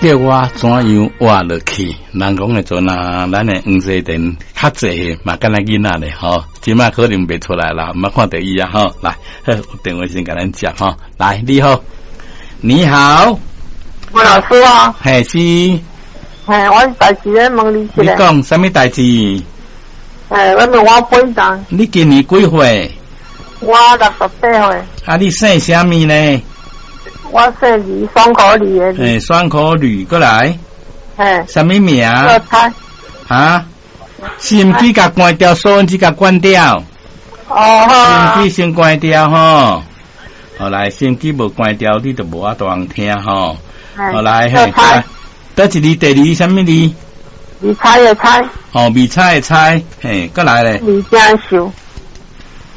叫我怎樣活落去？人講的陣啊，咱的黃西田較濟嘛，敢若囡仔咧吼，這擺可能袂出來啦，毋捌看著伊啊吼。來，好，電話先共咱接吼。來，你好，你好，吳老師啊，嘿是，嘿，我有代誌咧問你一你下。講啥物代誌？嘿，我問我本人，你今年幾歲？我68歲。啊，你姓啥物呢？我姓李，雙口李的李。嘿，雙口呂過來，嘿，啥物名？做菜。啊？收音機共關掉，收音機共關掉。哦好。收音機先關掉吼。好來，收音機無關掉，你就無法度通聽吼。好來，嘿，做菜。佗一字？第二啥物字？未猜的猜。哦，未猜的猜，嘿，過來咧。物件收。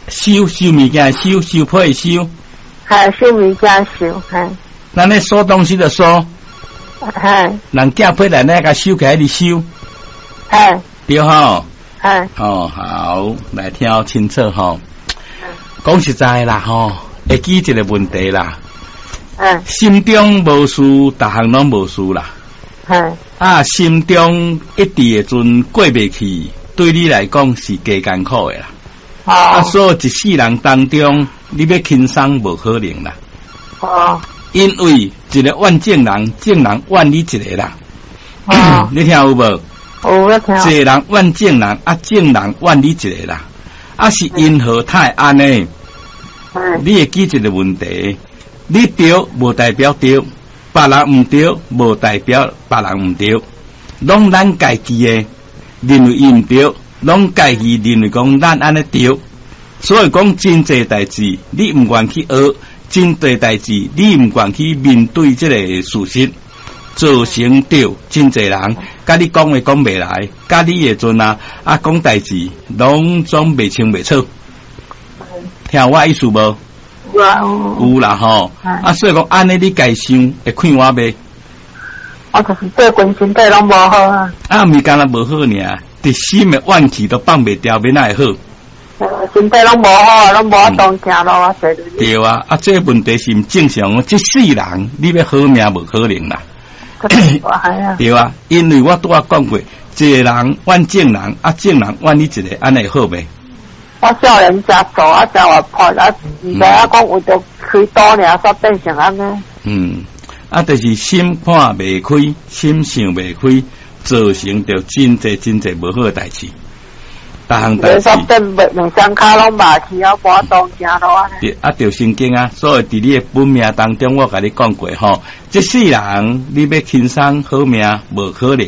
收收物件，收收皮的收。嘿，收物件收，嘿。咱咧收東西的收。嘿。人寄批來，咱共收起來，你收。嘿。對吼。嘿。哦，好，來聽清楚吼。講實在啦吼，會記一個問題啦。心中無事，逐項攏無事啦。啊，心中一直的陣過袂去，對你來講是加艱苦的啦。啊，所以一世人當中，你欲輕鬆無可能啦。因為一個怨眾人，眾人怨你一個啦。你聽有無？有咧聽。一個人怨眾人，啊，眾人怨你一個啦。啊，是因何會按呢？你會記一個問題，你對無代表對，別人毋對無代表別人毋對，攏咱家己的認為伊毋對，攏家己認為講咱按呢對，所以講真濟代誌，你毋願去學；真濟代誌，你毋願去面對這個事實，造成著真濟人佮你講話講袂來，佮你的陣啊啊講代誌，攏總袂清袂楚。聽我意思無？有啊有啦吼，啊，所以講按呢，你家想會快活袂？我就是最近身體攏無好啊。啊，毋是干焦無好爾，佇心的怨氣都放袂掉，欲哪會好？身體攏無好，攏無法度行路啊，坐輪椅。對啊，啊，這個問題是毋正常，這世人你欲好命無可能啦。對啊，因為我拄仔講過，一個人怨眾人，啊，眾人怨你一個，按呢會好袂？我少年食素啊，食活潑啊，毋知影講為著開刀爾，煞變成按呢。嗯，啊，就是心看袂開，心想袂開，造成著真濟真濟無好的代誌。逐項代誌。煞變袂兩雙跤攏麻去啊，無法度行路按呢。對，啊，著神經啊，所以佇你的本命當中，我共你講過吼，這世人你欲輕鬆好命，無可能。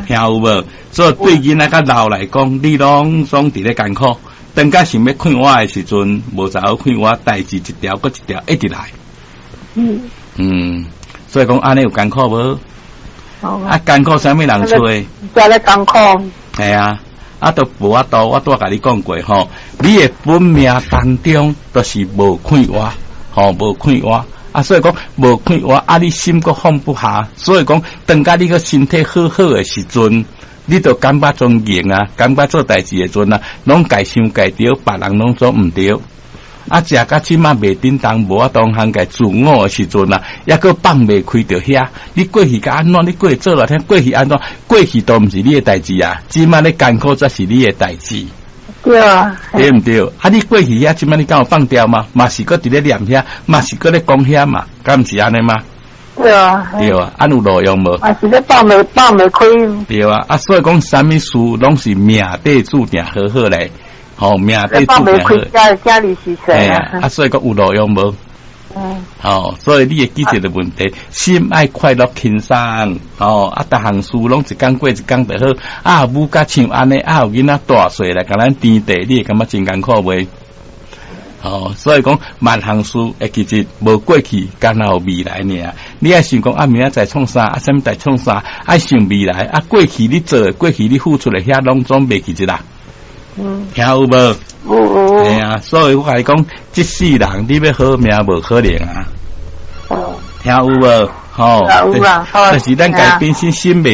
聽有無？所以對囡仔較老來講，你攏總佇咧艱苦。當甲想欲快活的時陣，無怎好快活，代誌一條閣一條一直來。嗯，所以講按呢有艱苦無？啊，艱苦啥物人揣？遮咧艱苦。係啊，啊，都無法度，我拄仔共你講過吼，你的本命當中都是無快活，吼，無快活。啊，所以講無快活，啊，你心閣放不下，所以講，當甲你個身體好好的時陣，你就感覺總硬啊，感覺做代誌的陣啊，攏家想家對，別人攏總毋對。啊，食甲這馬袂振動，無法度通家自我的時陣啊，抑閣放袂開著遐。你過去甲按怎？你過去做來聽，過去按怎？過去都毋是你的代誌啊，這馬咧艱苦才是你的代誌。對啊，對毋對？啊，你過去遐，這馬你敢有放掉嗎？嘛是閣佇咧念遐，嘛是閣咧講遐嘛，敢毋是按呢嗎？對啊，對啊，按有路用無？嘛是咧放袂開。對啊，啊，所以講啥物事攏是命底注定好好咧，吼，命底注定好。放袂開，家裡是誰啊？啊，所以講有路用無？嗯。哦，所以你會記一個問題，心愛快樂輕鬆，哦，啊，逐項事攏一工過一工就好。啊，母甲像按呢，啊，有囡仔大細來共咱添地，你會感覺真艱苦袂？哦，所以講萬項事會記得無過去，干焦有未來爾。你愛想講啊，明仔載創啥？啊，啥物代創啥？愛想未來啊，過去你做的，過去你付出的，遐攏總袂記得啦。聽有無？有。嘿啊，所以我共你講，這世人你欲好命無可能啊。聽有無？吼，有啊。但是咱家本身心袂。